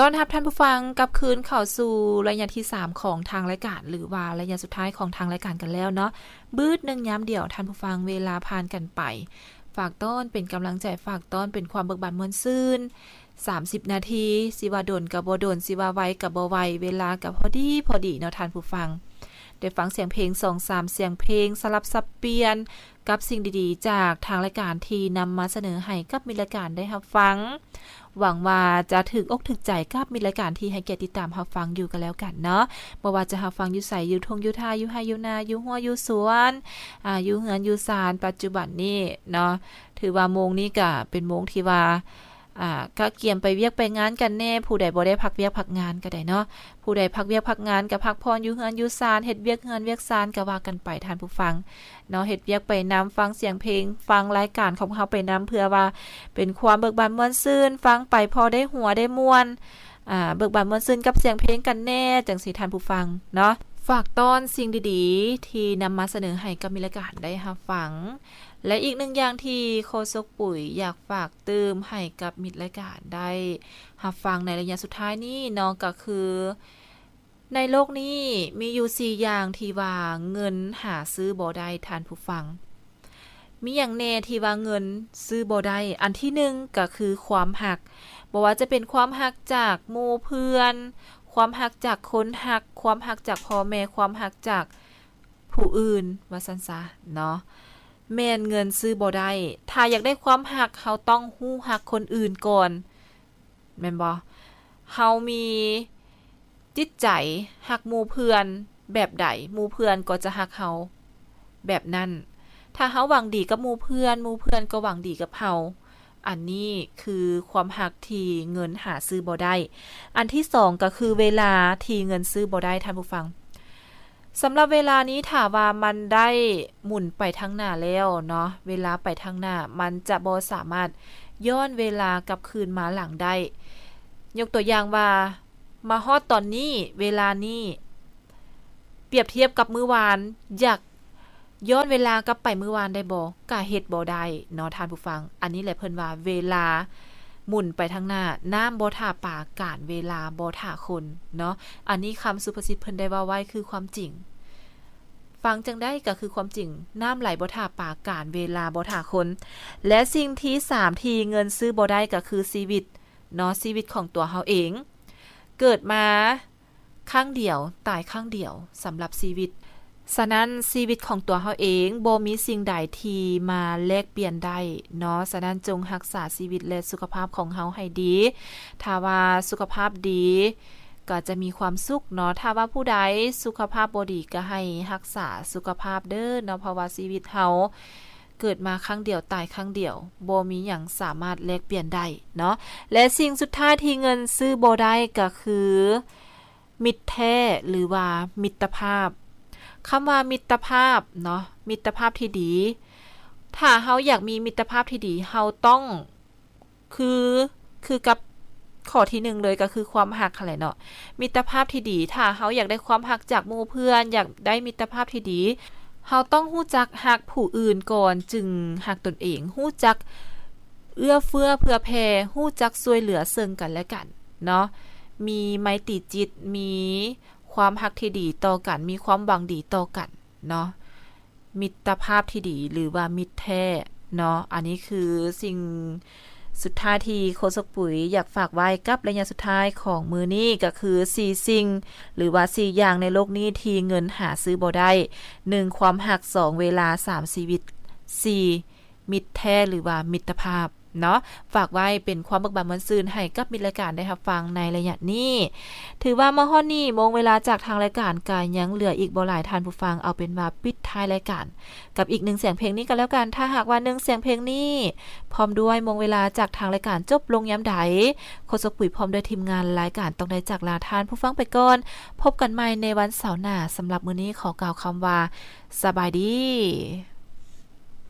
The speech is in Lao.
ຕ້ອນຮັບທ່ານຜູ້ຟັງກັບຄືນເຂົ້າສູ່ໄລຍະທີສາມຂອງທາງລາຍການ ຫຼືວ່າໄລຍະສຸດທ້າຍຂອງທາງລາຍການກັນແລ້ວເນາະ. ບຶດໜຶ່ງຍາມດຽວ ທ່ານຜູ້ຟັງ, ເວລາຜ່ານກັນໄປ. ຝາກຕ້ອນເປັນກຳລັງໃຈ, ຝາກຕ້ອນເປັນຄວາມເບີກບານມ່ວນຊື່ນ. ສາມສິບນາທີ, ຊິວ່າດົນກໍບໍ່ດົນ, ຊິວ່າໄວກໍບໍ່ໄວ, ເວລາກໍພໍດີພໍດີເນາະທ່ານຜູ້ຟັງ. ໄດ້ຟັງສຽງເພງສອງສາມສຽງເພງ ສະຫຼັບສັບປ່ຽນ ກັບສິ່ງດີໆຈາກທາງລາຍການທີ່ນຳມາສະເໜີໃຫ້ກັບມິດລາຍການໄດ້ຮັບຟັງ. ຫວັງວ່າຈະຖືກອົກຖືກໃຈກັບມິດລາຍການທີ່ໃຫ້ກຽດຕິດຕາມຮັບຟັງຢູ່ກໍແລ້ວກັນເນາະ. ບໍ່ວ່າຈະຮັບຟັງຢູ່ໃສ, ຢູ່ທົ່ງຢູ່ທ່າ, ຢູ່ໄຮ່ຢູ່ນາ, ຢູ່ຮົ້ວຢູ່ສວນ, ອາ, ຢູ່ເຮືອນຢູ່ຊານ. ປັດຈຸບັນນີ້ເນາະ, ຖືວ່າໂມງນີ້ກະເປັນໂມງທີ່ວ່າ ອາ, ກະກຽມໄປວຽກໄປງານກັນແດ່. ຜູ້ໃດບໍ່ໄດ້ພັກວຽກພັກງານກໍໄດ້ເນາະ. ຜູ້ໃດພັກວຽກພັກງານກໍພັກຜ່ອນຢູ່ເຮືອນຢູ່ຊານ, ເຮັດວຽກເຮືອນວຽກຊານກໍວ່າກັນໄປທ່ານຜູ້ຟັງເນາະ. ເຮັດວຽກໄປນຳ, ຟັງສຽງເພງ, ຟັງລາຍການຂອງເຮົາໄປນຳ, ເພື່ອວ່າເປັນຄວາມເບີກບານມ່ວນຊື່ນ, ຟັງໄປພໍໄດ້ຫົວໄດ້ມ່ວນ, ອາ, ເບີກບານມ່ວນຊື່ນກັບສຽງເພງກັນແດ່ ຈັ່ງຊີ້ທ່ານຜູ້ຟັງເນາະ. ຝາກຕ້ອນສິ່ງດີໆທີ່ນຳມາສະເໜີໃຫ້ກັບມິດລາຍການໄດ້ຮັບຟັງ. ແລະ ອີກໜຶ່ງຢ່າງທີ່ໂຄສົກປຸຍຢາກຝາກຕື່ມໃຫ້ກັບມິດລາຍການໄດ້ຮັບຟັງໃນໄລຍະສຸດທ້າຍນີ້ເນາະ ກໍຄື ໃນໂລກນີ້ມີຢູ່ສີ່ຢ່າງທີ່ວ່າເງິນຫາຊື້ບໍ່ໄດ້ທ່ານຜູ້ຟັງ. ມີຫຍັງແດ່ທີ່ວ່າເງິນຊື້ບໍ່ໄດ້? ອັນທີໜຶ່ງກໍຄືຄວາມຮັກ. ບໍ່ວ່າຈະເປັນຄວາມຮັກຈາກໝູ່ເພື່ອນ, ຄວາມຮັກຈາກຄົນຮັກ, ຄວາມຮັກຈາກພໍ່ແມ່, ຄວາມຮັກຈາກ ຜູ້ອື່ນວ່າຊັ້ນຊະເນາະ ແມ່ນເງິນຊື້ບໍ່ໄດ້. ຖ້າຢາກໄດ້ຄວາມຮັກ ເຮົາຕ້ອງຮູ້ຮັກຄົນອື່ນກ່ອນ ແມ່ນບໍ່? ເຮົາມີຈິດໃຈຮັກໝູ່ເພື່ອນແບບໃດ ໝູ່ເພື່ອນກໍຈະຮັກເຮົາແບບນັ້ນ. ຖ້າເຮົາຫວັງດີກັບໝູ່ເພື່ອນ ໝູ່ເພື່ອນກໍຫວັງດີກັບເຮົາ. ອັນນີ້ຄືຄວາມຮັກທີ່ເງິນຫາຊື້ບໍ່ໄດ້. ອັນທີສອງກໍຄືເວລາທີ່ເງິນຊື້ບໍ່ໄດ້ທ່ານຜູ້ຟັງ. ສຳລັບເວລານີ້ຖ້າວ່າມັນໄດ້ໝູນໄປທາງໜ້າແລ້ວເນາະ ເວລາໄປທາງໜ້າ ມັນຈະບໍ່ສາມາດຍ້ອນເວລາກັບຄືນມາຫຼັງໄດ້. ຍົກຕົວຢ່າງວ່າ ມາຮອດຕອນນີ້ ເວລານີ້ ປຽບທຽບກັບມື້ວານ ຢາກ ຍ້ອນເວລາກັບໄປມື້ວານໄດ້ບໍ່? ກະເຮັດບໍ່ໄດ້ເນາະທ່ານຜູ້ຟັງ. ອັນນີ້ແຫຼະເພິ່ນວ່າເວລາໝູນໄປທາງໜ້າ, ນ້ຳບໍ່ຖ້າປາ, ການເວລາບໍ່ຖ້າຄົນເນາະ. ອັນນີ້ຄຳສຸພາສິດເພິ່ນໄດ້ເວົ້າໄວ້ຄືຄວາມຈິງ. ຟັງຈັ່ງໃດກໍຄືຄວາມຈິງ, ນ້ຳໄຫຼບໍ່ຖ້າປາ, ການເວລາບໍ່ຖ້າຄົນ. ແລະ ສິ່ງທີສາມທີ່ເງິນຊື້ບໍ່ໄດ້ກໍຄືຊີວິດເນາະ, ຊີວິດຂອງຕົວເຮົາເອງ. ເກີດມາ ຄັ້ງດຽວ, ຕາຍຄັ້ງດຽວສຳລັບຊີວິດ. ສະນັ້ນ, ຊີວິດຂອງຕົວເຮົາເອງບໍ່ມີສິ່ງໃດທີ່ມາແລກປ່ຽນໄດ້ເນາະ. ສະນັ້ນ, ຈົ່ງຮັກສາຊີວິດ ແລະ ສຸຂະພາບຂອງເຮົາໃຫ້ດີ. ຖ້າວ່າສຸຂະພາບດີ, ກໍຈະມີຄວາມສຸກເນາະ. ຖ້າວ່າຜູ້ໃດສຸຂະພາບບໍ່ດີ, ກໍໃຫ້ຮັກສາສຸຂະພາບເດີເນາະ, ເພາະວ່າຊີວິດເຮົາ ເກີດມາຄັ້ງດຽວ ຕາຍຄັ້ງດຽວ ບໍ່ມີຫຍັງສາມາດແລກປ່ຽນໄດ້ເນາະ. ແລະ ສິ່ງສຸດທ້າຍທີ່ເງິນຊື້ບໍ່ໄດ້ກໍຄືມິດແທ້ ຫຼືວ່າມິດຕະພາບ. ຄຳວ່າມິດຕະພາບເນາະ ມິດຕະພາບທີ່ດີ ຖ້າເຮົາຢາກມີມິດຕະພາບທີ່ດີ ເຮົາຕ້ອງ ຄື ຄືກັບຂໍ້ທີໜຶ່ງເລີຍ ກໍຄືຄວາມຮັກຫັ້ນແຫຼະເນາະ. ມິດຕະພາບທີ່ດີ ຖ້າເຮົາຢາກໄດ້ຄວາມຮັກຈາກໝູ່ເພື່ອນ ຢາກໄດ້ມິດຕະພາບທີ່ດີ ເຮົາຕ້ອງຮູ້ຈັກຮັກຜູ້ອື່ນກ່ອນ ຈຶ່ງຮັກຕົນເອງ. ຮູ້ຈັກເອື້ອເຟື້ອເຜື່ອແຜ່ ຮູ້ຈັກຊ່ວຍເຫຼືອເຊິ່ງກັນແລະກັນເນາະ. ມີໄມຕີຈິດ ມີຄວາມຮັກທີ່ດີຕໍ່ກັນ ມີຄວາມຫວັງດີຕໍ່ກັນເນາະ. ມິດຕະພາບທີ່ດີ ຫຼືວ່າມິດແທ້ເນາະ. ອັນນີ້ຄືສິ່ງສຸດທ້າຍທີ່ໂຄສົກປຸຍຢາກຝາກໄວ້ກັບໄລຍະສຸດທ້າຍຂອງມື້ນີ້ ກໍຄືສີ່ສິ່ງ ຫຼືວ່າສີ່ຢ່າງໃນໂລກນີ້ທີ່ເງິນຫາຊື້ບໍ່ໄດ້. ໜຶ່ງ ຄວາມຮັກ, ສອງ ເວລາ, ສາມ ຊີວິດ, ສີ່ ມິດແທ້ຫຼືວ່າມິດຕະພາບເນາະ. ຝາກໄວ້ເປັນຄວາມເບີກບານມ່ວນຊື່ນໃຫ້ກັບມິດລາຍການໄດ້ຮັບຟັງໃນໄລຍະນີ້. ຖືວ່າມາຮອດນີ້ ໂມງເວລາຈາກທາງລາຍການກະຍັງເຫຼືອອີກບໍ່ຫຼາຍ, ທ່ານຜູ້ຟັງ ເອົາເປັນວ່າປິດທ້າຍລາຍການກັບອີກໜຶ່ງສຽງເພງນີ້ກໍແລ້ວກັນ. ຖ້າຫາກວ່າໜຶ່ງສຽງເພງນີ້ ພ້ອມດ້ວຍໂມງເວລາຈາກທາງລາຍການຈົບລົງຍາມໃດ, ໂຄສົກປຸຍພ້ອມດ້ວຍທີມງານລາຍການຕ້ອງໄດ້ຈາກລາທ່ານຜູ້ຟັງໄປກ່ອນ. ພົບກັນໃໝ່ໃນວັນເສົາໜ້າ. ສຳລັບມື້ນີ້ຂໍກ່າວຄຳວ່າ ສະບາຍດີ.